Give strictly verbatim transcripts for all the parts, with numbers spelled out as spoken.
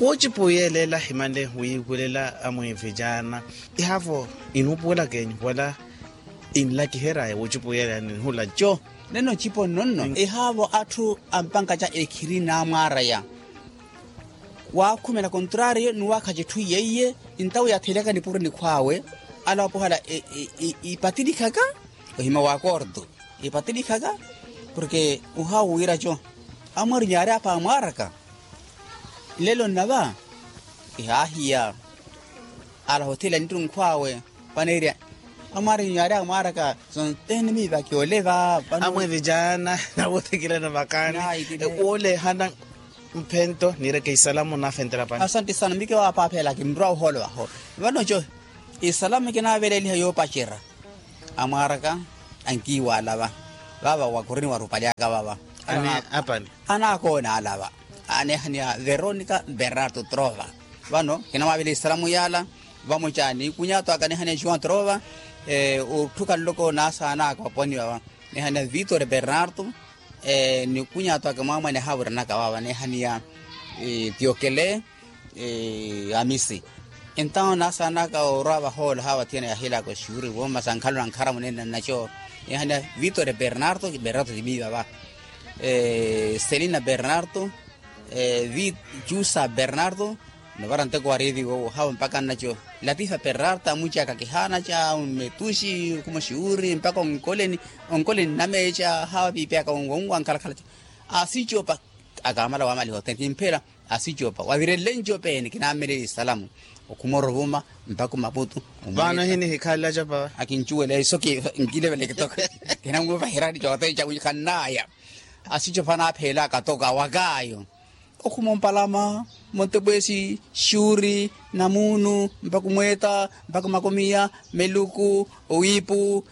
Woocipuyelela himanle wiivulela amwiivicaana ihaavo inuupuwelaka enyu wala inlakiheryaya woocipuyelela ninhulaco. Nene ocipo nnonno ihaavo atthu ampankaca ekhiri naamwaaraya waakhumela kontrariyo ni waakhaca etthu yeiye. Ntawo yaatheelyaka nipuro nikhwaawe ala wapohala ipatilikhaka ohima wa korto ipatilikhaka. Porke ohawo wiiraco amwarinyu yaari apa amwaaraka nlelo nnava ihaahiya ala hothela nittunkhwaawe. Paneerya amwarinyu yaari amwaaraka sontenimiivaki oleva vano. Amwevicaana nawoothikilana vakaani woolehana mphento niireke isalamu naafentela pani. Asante sana mike waapaaphela kinrwa ohoolo aho vano co isalamu kinaaveleeliha yoopacerya amwaaraka ankiiwaalava vava wakurini warupalyaka vava. Anakoona alava aneehaniya veronica bernardo trova. Vano kinamwaavela isalamu yaala vamoca nikunyaato aka neehaniya juan trova otthuka nloko naasaana aka waponiwa va neehaniya vitore bernardo nikunyaato aka mwaamwane haavuranaka vava neehaniya tiokele amisi. Entawo naasaanaka orwa vahoolo haawa thiyana yahilaaka oxiwuri vooma sa nkhalu na nkhara munene nnaco. Neehaniya vitore bernardo bernardo timiiva va selina bernardo vi cusa bernardo novara nteko wa revi wowo haawa mpaka nnaco latifa bernardo amucaka kihaanaca mmetuxi okhuma oxiwuri mpaka onkoleni onkoleni nnameeca haawa piipiyaka wonwankhalakhalaca. Asicopa akaamala waamaliha othene kimphela asicopa wavirelle ncopeeni kinaameleli isalamu okhuma oruvuma mpakha omaputu. Vano hini hikhalela acopa akincuwela iso nkilevele kitoko kinamuvahirani cothene cakuxikhannaaya. Asicopa anaapheelaka toka wakaayo okhuma ompalama montepweesi xuuri namuunu mpakha omweeta mpakha omakomiya meluku owiipu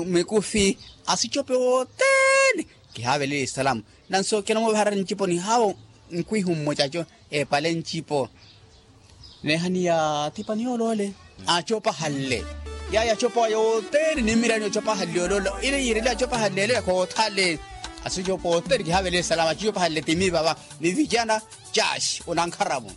mikufi asicope wothene. Kihaavelela isalamu nanso kinamuvaharani nciponi haawo nkwihu mmocaco epale ncipo. Neehaniya thipani yooloole acopahanle yaayi acopa yothene nimmirani ocopahanle yooloole ile yiirele acopahanle ele yakhothale. Asicopa othene kihaavelela isalamu acopahanle timi vava ni vijana caxi onankharamu.